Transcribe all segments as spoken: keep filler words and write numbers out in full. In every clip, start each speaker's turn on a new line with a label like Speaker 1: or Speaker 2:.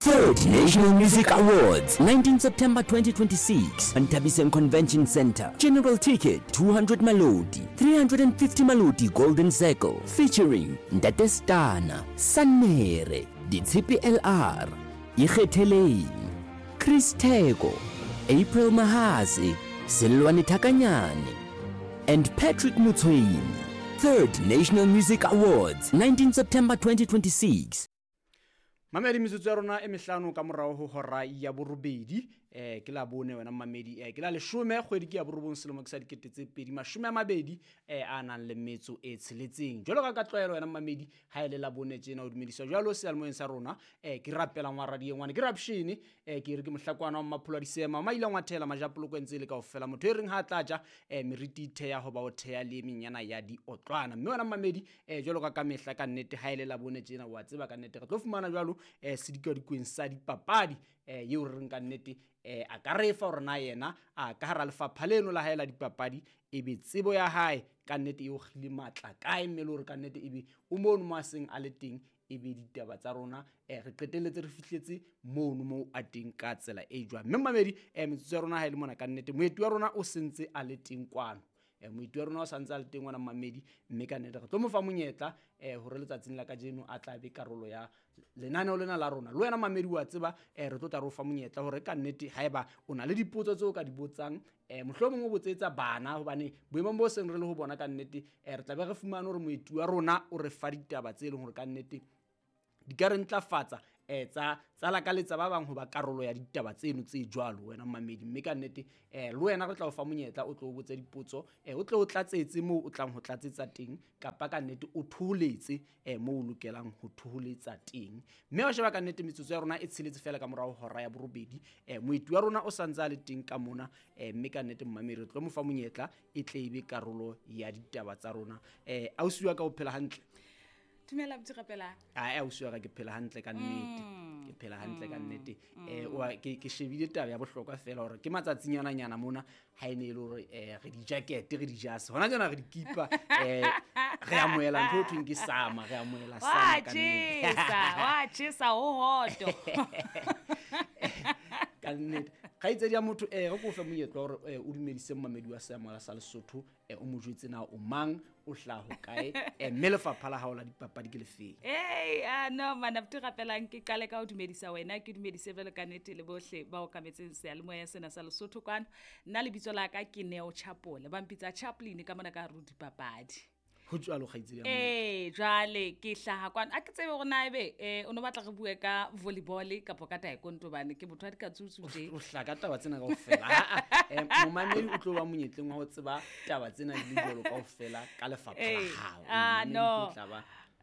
Speaker 1: Third National Music Awards, nineteen September twenty twenty-six, Nthabiseng Convention Center. General ticket, two hundred Maloti, three hundred fifty Maloti Golden Circle, featuring Ntate Stana, Sanere, Ditshepe L R, Ikgetheleng, Chris Theko, April Mahase, Selwane Thakanyane, and Patrick Motshwenyi. Third National Music Awards, nineteen September twenty twenty-six.
Speaker 2: Mamedi metsotso ya rona e mehlano ka morao ho hora ya borobedi, eh ke la bone wena mamedi, eh ke la leshome kgwedi ke ya borobong selemo ke sa dikete tse pedi mashome a mabedi eh a nang le metso e tsheletseng. Jwalo ka ka tlwaelo wena mamedi ha ele la bone tjena o dumediswa jwalo seyalemoyeng sa rona, eh ke rapela ngwa radio ngwane ke rapshene, eh ke re ke mohlakwana wa Mmapholo a Disema maile ngwa thela majapoloko ntse le kaofela motho e reng ha tla ja eh meriti theya ho ba o theya le menyana ya diotlwana. Mme wena mamedi eh jwalo ka ka mehla ka nnete ha ele la bone tjena wa tseba ka nnete re tlo fumana jwalo eh sedikadikweng sa dipapadi eh eo re reng ka nnete eh a ka re fa hore na yena a ka hara lefapha leno la hae la dipapadi e be tsebo ya hae ka nnete e o kgile matla kae, mme le hore ka nnete ebe o mono mo a seng a le teng e be ditaba tsa rona eh re qetelletse re fihletse mono mo a teng ka tsela e jwang. Mme mamedi eh metsotso ya rona ha e le mona ka nnete moeti wa rona o sentse a le teng kwano. Eh moeti wa rona o santse a le teng ngwana mamedi, mme ka nnete re tlo mo fa monyetla eh hore letsatsing la kajeno a tla be karolo ya lenaneo lena la rona. Le wena mamedi wa tseba eh re tlo tla re o fa monyetla hore ka nnete haeba o na le dipotso tseo ka di botsang eh mohlomong o botsetsa bana hobane boemong bo seng re le ho bona ka nnete eh re tla be re fumane hore moeti wa rona o re fa ditaba tse leng hore ka nnete di ka re ntlafatsa eh tsa tsa lakaletsa ba bang ho ba karolo ya ditaba tseno tse jwalo wena mamedi. Mme ka nnete eh le wena re tla o fa monyetla o tlo o botse dipotso eh o tle o tlatsetse moo o tlang ho tlatsetsa teng kapa ka nnete o thoholetse eh moo o lokelang ho thoholetsa teng. Mme wa sheba ka nnete metsotso ya rona e tsheletse fela ka morao hora ya borobedi, eh moeti wa rona o santse a le teng ka mona eh mme ka nnete mmamedi re tlo mo fa monyetla e tle e be karolo ya ditaba tsa rona. Eh ausi wa ka o phela hantle?
Speaker 3: Dumela botse rapela.
Speaker 2: Ah ausi wa ka ke phela hantle ka nnete. Ke phela hantle ka nnete. Eh wa ke ke shebile taba ya bohlokwa fela hore ke matsatsinyana nyana mona ha ene ile hore eh re di jacket re di jase. Hona jana re di kipa eh re amohela ntho e thweng ke sama, re amohela sama ka nnete.
Speaker 3: Wa tjhesa ho hoto.
Speaker 2: Ka nnete. Kgaitsedi ya motho eh re ko fe monyetla hore o dumedise mmamedi wa Seyamoya sa Lesotho eh o mo jwetse na o mang o hlaha ho kae eh mme lefapha la hao la dipapadi ke lefeng?
Speaker 3: Hey ah no mana botse rapelang ke qale ka ho dumedisa wena ke dumedise jwalo ka nnete le bohle ba okametseng seyalemoya sena sa Lesotho kwano. Nna lebitso la ka ke Neo Chapole, ba mpitsa Chaplin ka mona ka hare ho dipapadi.
Speaker 2: Ho jwalo kgaitsedi ya motho.
Speaker 3: Eh jwale ke hlaha kwano a ke tsebe hore na ebe eh o no batla re bue ka volleyball kapa ka taekwondo bane ke motho a dikatsutsu tje.
Speaker 2: O hlaka taba tsena kaofela. Ha eh momamedi o tlo ba monyetleng wa ho tseba taba tsena di le jwalo kaofela ka lefapha la hao.
Speaker 3: Ah no.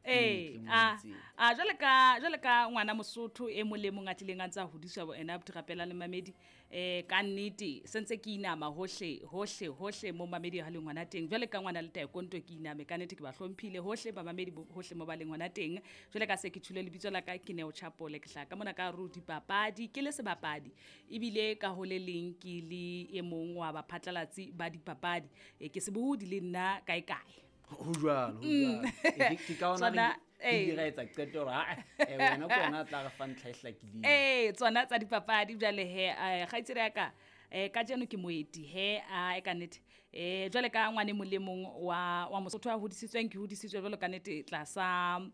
Speaker 3: Eh ah ah jwale ka jwale ka ngwana Mosotho e molemo a tlileng a ntsa hodiswa bo ena botrapela le mamedi eh ka nnete sentse ke inama hohle hohle hohle mo mamedi ha le ngwana teng jwale ka ngwana le taekwondo ke iname ka nnete ke ba hlomphile hohle ba mamedi hohle mo ba leng ngwana teng jwale ka se ke tshule lebitso la ka ke Neo Chapole ke hlaka mona ka ro dipapadi ke le sebapadi ebile ka hole leng ke le e mong wa baphatlalatsi ba dipapadi e ke sebohodi le nna kae kae.
Speaker 2: Ho jwalo, ho jwalo. Ke ka ona re re etsa qeto hore ha eh wena ke wena tla re fa ntlha e hlakileng.
Speaker 3: Eh tsona tsa dipapadi jwale he kgaitsedi ya ka eh kajeno ke moeti he a e ka nnete eh jwale ka ngwane molemong wa wa Mosotho a hodisitsweng ke hodisitswe jwalo ka nnete tlasa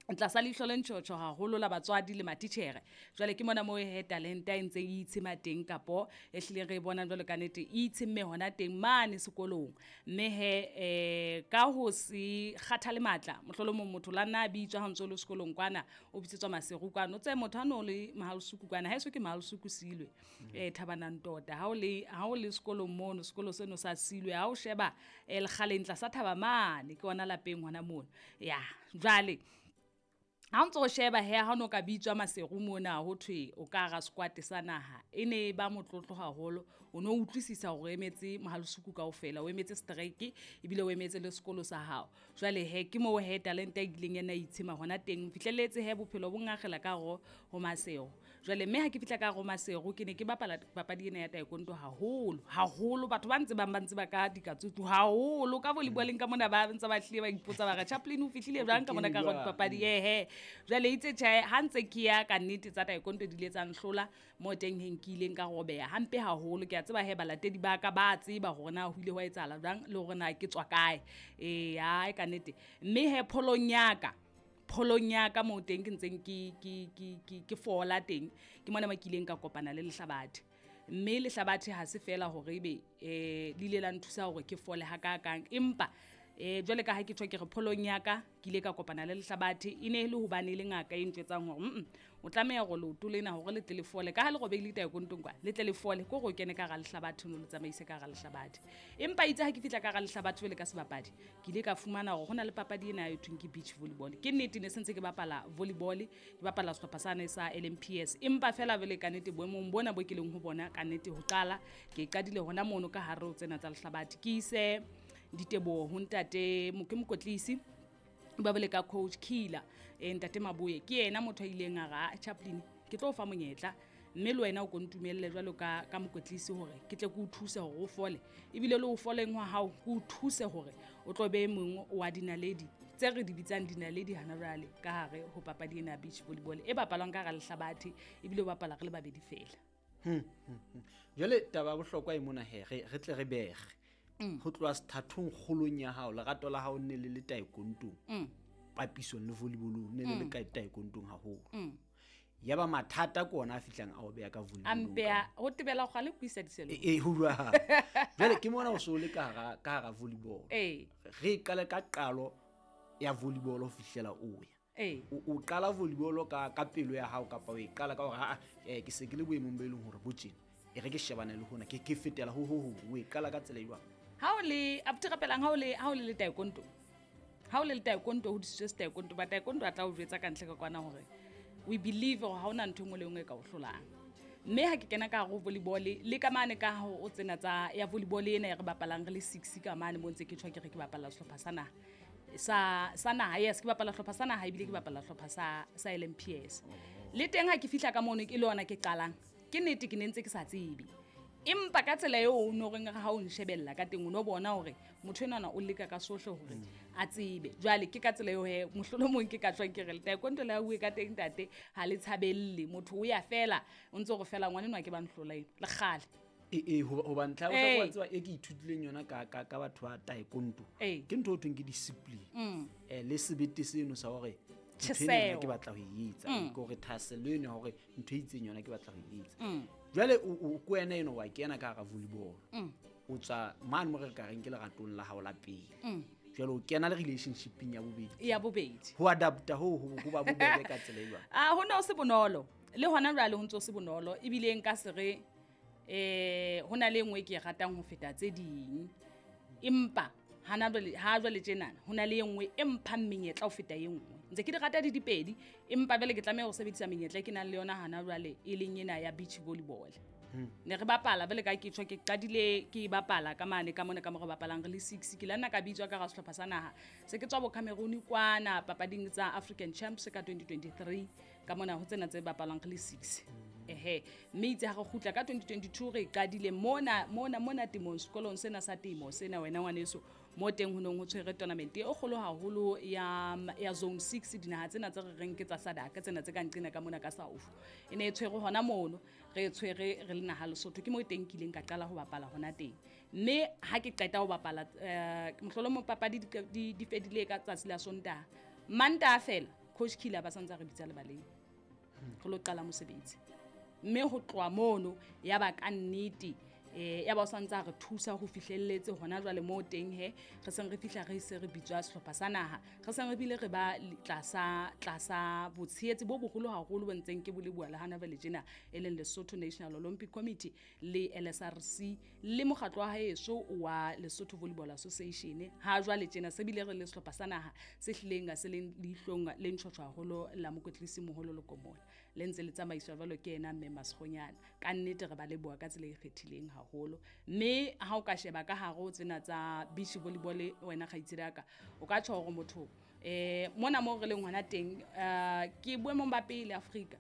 Speaker 3: tlasa leihlo le ntjhotjho haholo la batswadi le matitjhere. Jwale ke mona moo he talenta e ntse e itshema teng kapo e hlileng re e bonang jwalo ka nnete e itshemme hona teng mane sekolong. Mme he eh ka ho se kgathale matla mohlolomong motho la nna a bitswa ha ntso le sekolong kwana o bitsetswa Maseru kwana o tse motho a no le Mahalusuku kwana ha eso ke Mahalusuku silwe eh Thabanang tota ha o le ha o le sekolong mono sekolo seno sa silwe ha o sheba eh lekgaleng tlasa thaba mane ke ona lapeng hona mono ya jwale ha ntso o sheba he ha no ka bitswa Maseru mona ho thwe o ka ra squat sa naha e ne ba motlotlo haholo o no utlwisisa hore emetse Mahalusuku kaofela o emetse strike ebile o emetse le sekolo sa hao jwale he ke mo he talent e ileng ena itshema hona teng fihlelletse he bophelo bo ngagela ka ro ho Maseru jwale mme ha ke fihla ka ro Maseru ke ne ke bapala papadi ena ya taekwondo haholo haholo batho ba ntse ba ba ntse ba ka dikatsutsu haholo ka volleyball ka mona ba ntse ba hlile ba ipotsa ba re Chaplin o fihlile jwang ka mona ka ro papadi ehe Jwale itse tjhe ha ntse ke ya ka nnete tsa taekwondo di ile tsa nhlola mo teng he nkileng ka robeha hampe haholo. Ke a tseba he balatedi ba ka ba tseba hore na ho ile hwa etsahala jwang le hore na ke tswa kae. Eh hai ka nnete. Mme he pholong ya ka pholong ya ka mo teng ke ntseng ke ke ke ke ke fola teng ke mona mo ke ileng ka kopana le lehlabathe. Mme lehlabathe ha se fela hore ebe eh le ile la nthusa hore ke fole hakakang, empa eh jwale ka ha ke tjho ke re pholong ya ka ke ile ka kopana le lehlabathe. E ne e le hobane e le ngaka e ntjwetsang hore mm o tlameha hore leoto lena hore le tle le fole ka ha le robehile taekwondong kwa le tle le fole ke hore o kene ka hara lehlabathe o no le tsamaise ka hara lehlabathe. Empa itse ha ke fihla ka hara lehlabathe jwale ka sebapadi ke ile ka fumana hore hona le papadi ena e thweng ke beach volleyball. Ke nnete ne sentse ke bapala volleyball, ke bapala sehlopha sane sa L M P S, empa fela jwale ka nnete boemong bona bo ke leng ho bona ka nnete ho qala ke qadile hona mono ka hare ho tsena tsa lehlabathe. Ke ise diteboho ho ntate ke mokotlisi ba bole ka coach Killer eh ntate Maboye ke yena motho a ileng a ra Chaplin ke tlo o fa monyetla mme le wena o ko ntumelle jwalo ka ka mokotlisi hore ke tle ke o thuse hore o fole ebile le o foleng wa hao ke o thuse hore o tlo be mong wa dinaledi tse re di bitsang dinaledi hana jwale ka hare ho papadi ena ya beach volleyball e bapalwang ka hara lehlabathe ebile o bapala re le babedi fela.
Speaker 2: Hmm, hmm, jwale taba ya bohlokwa e mona he re re tle re bege ho tloha sethathong kgolong ya hao lerato la hao nne le le taekwondong papisong le volleyballong ne le le ka taekwondong haholo. Ya ba mathata ke ona a fihlang a o beha ka volleyballong.
Speaker 3: A mpeha ho tebela kgale ko isa diselong.
Speaker 2: E ho jwang. Jwale ke mona o so le ka hara ka hara volleyball.
Speaker 3: Eh.
Speaker 2: Re qale ka qalo ya volleyball ho fihlela o ya.
Speaker 3: Eh.
Speaker 2: O qala volleyball ka ka pelo ya hao kapa o e qala ka hore ha eh ke se ke le boemong bo e leng hore bo tjena. E re ke shebane le hona ke ke fetela ho ho ho o e qala ka tsela e jwang?
Speaker 3: Ha o le abuti rapelang ha o le ha o le le taekwondo ha o le le taekwondo ho disitswe taekwondo ba taekwondo a tla o jwetsa ka ntle ka kwana hore we believe hore ha ona ntho engwe le engwe e ka o hlolang. Mme ha ke kena ka hare ho volleyball le ka mane ka ho o tsena tsa ya volleyball ena e re bapalang re le six ka mane mo ntse ke tjho ke re ke bapala sehlopha sa naha sa sa naha yes ke bapala sehlopha sa naha ebile ke bapala sehlopha sa sa L M P S. Le teng ha ke fihla ka mono ke le yona ke qalang ke nnete ke ne ntse ke sa tsebe. Empa ka tsela eo o no reng ha o nshebella ka teng o no bona hore motho enwana o leka ka sohle hore a tsebe. Jwale ke ka tsela eo he mohlolomong ke ka tswang ke re taekwondo le ha bue ka teng ntate ha le tshabelle motho o ya fela o ntse gore fela ngwana enwa ke ba nhlola eno le kgale.
Speaker 2: E e ho ba ntlha o tseba e ke ithutileng yona ka ka ka batho ba taekwondo ke ntho o thweng ke discipline eh le sebete seno sa hore ntho ke batla ho e etsa ke hore thahasello eno hore ntho e itseng yona ke batla ho e etsa. Jwale o ko wena eno wa kena ka hara volleyball o tswa mane mo re ka reng ke leratong la hao la pele jwale o kena le relationshipeng ya bobedi
Speaker 3: ya bobedi
Speaker 2: ho adapta ho ho ba bobebe ka tsela e jwang?
Speaker 3: Ah ho na o se bonolo le hona jwale ho ntse o se bonolo ebile nka se re eh ho na le engwe ke e ratang ho feta tse ding empa hana jwale ha jwale tjenana ho na le engwe e mphang menyetla ho feta e nngwe. Ntse ke di rata di dipedi empa jwale ke tlameha ho sebedisa menyetla e ke nang le yona hana jwale e leng ena ya beach volleyball. Ne re bapala jwale ka ke tjho ke qadile ke bapala ka mane ka mona ka mo re bapalang re le six ke la nna ka bitswa ka ra sehlopha sa naha se ke tswa bo Cameroon kwana papading tsa African Champs ka twenty twenty-three ka mona ho tsena tse bapalang re le six. Ehe mme itse ha re kgutla ka twenty twenty-two re qadile mona mona mona temong sekolong sena sa temo sena wena ngwaneso mo teng ho nong ho tshwere tournament e kgolo haholo ya ya zone six dinaha tsena tse re reng ke tsa SADC tsena tse ka nqena ka mona ka South e ne e tshwere hona mono re tshwere re le naha Lesotho ke mo teng kileng ka qala ho bapala hona teng mme ha ke qeta ho bapala eh mohlolomong papadi di di fedile ka tsatsi la Sontaha Mantaha fela coach Killer ba santsa re bitsa lebaleng re lo qala mosebetsi mme ho tloha mono ya ba ka nnete eh ya ba o santsa re thusa ho fihlelletse hona jwale mo teng he re seng re fihla re se re bitswa sehlopha sa naha re seng re bile re ba tlasa tlasa botshehetsi bo boholo haholo bo ntseng ke bolebua le hana jwale tjena e leng Lesotho National Olympic Committee le L S R C le mokgatlo wa haeso wa Lesotho Volleyball Association ha jwale tjena se bile re le sehlopha sa naha se hlileng se leng leihlong le ntshotshwa haholo la mokotlisi moholo Lokomola le ntse le tsamaiswa jwalo ke yena mme Masgonyana ka nnete re ba leboha ka tsela e kgethileng haholo mme ha o ka sheba ka hare ho tsena tsa beach volleyball wena kgaitsedi ya ka o ka tjho hore motho eh mona mo re leng hona teng ke boemong ba pele Afrika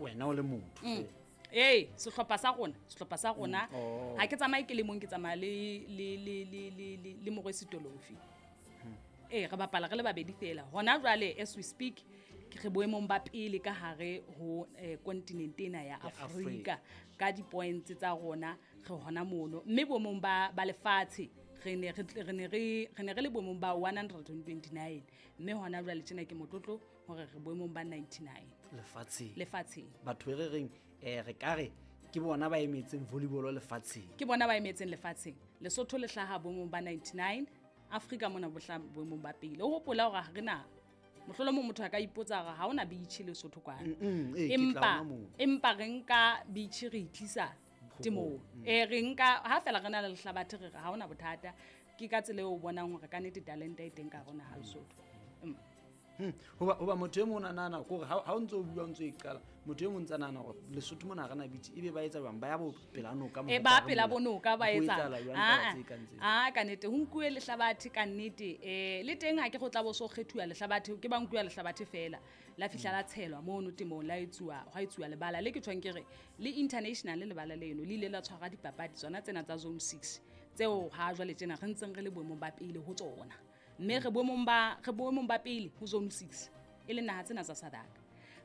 Speaker 2: wena o le motho
Speaker 3: eh sehlopha sa rona sehlopha sa rona ha ke tsamaye ke le mong ke tsamaya le le le le le le Morwesi Tolofi Ee, re bapala re le babedi fela. Hona jwale as we speak, ke re boemong ba pele ka hare ho eh, kontinente ena ya Afrika ka di-points tsa rona, re hona mono. Mme boemong ba, ba lefatshe re ne re tle- re ne re re ne re le boemong ba one hundred and twenty-nine, mme hona jwale tjena ke motlotlo hore re boemong ba ninety-nine
Speaker 2: lefatsheng.
Speaker 3: Lefatsheng.
Speaker 2: Batho e re reng um re ka re ke bona ba emetseng volleyball lefatsheng.
Speaker 3: Ke bona ba emetseng lefatsheng. Lesotho le hlaha boemong ba ninety-nine, Afrika mona bo hlaha boemong ba pele. O hopola hore ha re na mohlolomong motho a ka ipotsa hore ha hona beach Lesotho kwana.
Speaker 2: Mm, ee, ke tla
Speaker 3: Empa
Speaker 2: hona moo.
Speaker 3: empa re nka beach re itlisa temong. Eh, re nka ha fela re na le lehlabathe, re re ha hona bothata. Ke ka tsela eo o bonang hore ka nnete talente e teng ka hare ho naha Lesotho. Mm.
Speaker 2: Hmm, hoba hoba motho e mong a nahana kore ha ha o ntso o bua o ntso e qala, motho e mong ntsa nahana hore Lesotho mona ha re na beach, ebe ba etsa jwang, ba ya bo pela noka
Speaker 3: E
Speaker 2: mo
Speaker 3: ba
Speaker 2: ka
Speaker 3: pela
Speaker 2: mola.
Speaker 3: bo noka ba
Speaker 2: Ho
Speaker 3: etsa.
Speaker 2: etsahala jwang taba
Speaker 3: Ah,
Speaker 2: tse kang tseo?
Speaker 3: ah, ka nnete ho nkuwe lehlabathe ka nnete. Eh, le teng ha ke go tla bo so kgethuwa lehlabathe, ke ba nkuwa lehlabathe fela. La fihla la tshelwa mono temong, la etsuwa, hwa etsuwa lebala le ke tjhong ke re le international lebala leno le ile la tshwara dipapadi tsona tsena tsa zone six tseo ha jwale tjena re ntseng re le boemong ba pele ho tsona. Mme re boemong ba, re boemong ba pele ho zone six e leng naha tsena tsa SADC.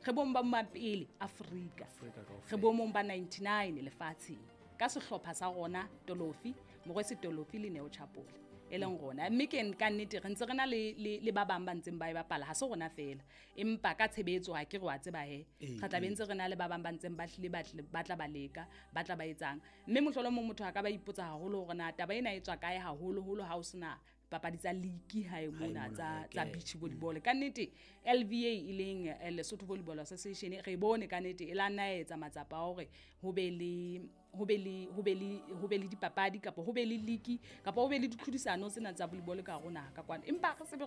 Speaker 3: Re boemong ba ba pele Afrika.
Speaker 2: Afrika kaofela.
Speaker 3: Re boemong ba ninety-nine lefatsheng ka sehlopha sa rona Tolofi, Morwesi Tolofi le Neo Chapole e leng rona. Mme ke ka nnete re ntse re na le, le, le ba bang ba ntseng ba e bapala, ha se rona fela. Empa ka tshebetso ha ke re wa tseba he,
Speaker 2: Ee,
Speaker 3: re tla be ntse re na le ba bang ba ntseng ba hlile ba tle, ba tla ba leka, ba tla ba etsang. Mme mohlolomong motho a ka ba ipotsa haholo hore na taba ena e tswa kae haholoholo ha o sena papadi tsa league hae mona
Speaker 2: mona,
Speaker 3: tsa,
Speaker 2: hae,
Speaker 3: tsa
Speaker 2: ke.
Speaker 3: beach volleyball. Ka nnete L V A e leng, eh, Lesotho Volleyball Association, re bone ka nnete e la nna ya etsa matsapa a hore ho be le, ho be le, ho be le, ho be le dipapadi kapa ho be le league kapa ho be le ditlhodisano tsena tsa volleyball ka hare ho naha ka kwano. Empa re sebe